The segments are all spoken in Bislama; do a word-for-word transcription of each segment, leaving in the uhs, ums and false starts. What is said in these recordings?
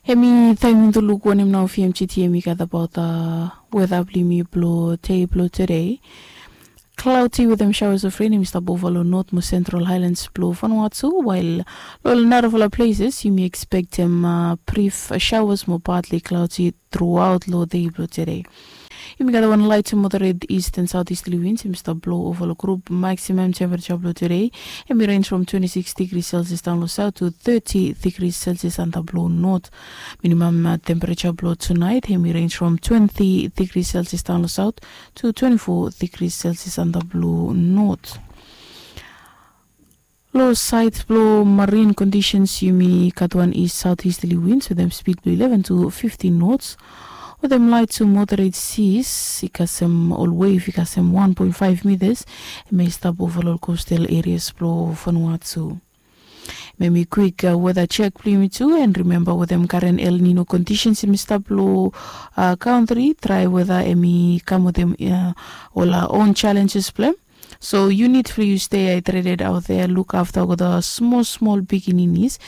Em i taim mi tu luk wanem nao fmgt em i gat abaot weda blong yumi blong dei blong tude. Cloudy wetem showers of rain em i stap ova long north mo central highlands blong Vanuatu, wael long narafala places yumi expectem brief showers mo partly cloudy throughout long dei blong tude. Yumi gat wan light to moderate east and southeasterly winds em i stap blong ova long group. Maximum temperature blong tude em i range from twenty-six degrees Celsius daon long south to thirty degrees Celsius antap long north. Minimum temperature blong tunait em i range from twenty degrees Celsius daon long south to twenty-four degrees Celsius antap long north. Long sait blong marine conditions yumi gat wan east southeasterly winds wetem speed blong eleven to fifteen knots, wetem light to moderate seas i kasem ol wave i kasem one point five meters. Em i stap ova long coastal areas blong Vanuatu. Memi kwik weather check blong yumi tu, and remember wetem current El Nino conditions em i stap long country, try weather em i kam wetem ol own challenges blong em. So you need for you stay hydrated out there, look after olgeta small small pikininis,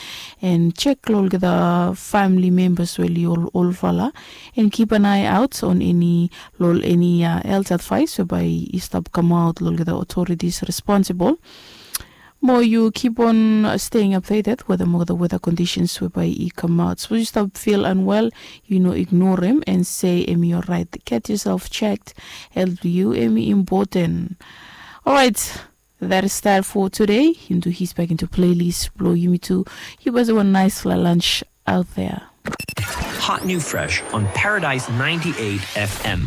and check long olgeta family members we oli ol olfala, and keep an eye out on any long any health advice we bai i stap kamaot long olgeta authorities responsible. Mo you keep on staying updated wetem olgeta weather conditions we bai i kamaot. Suppose you stop feel unwell, you know, ignore him and say em i alright. Get yourself checked. Health blong you em i important. Alright, that is that for today. Into his back into playlist blong yumi tu. You guys have a nice lunch out there. Hot new fresh on Paradise ninety-eight F M.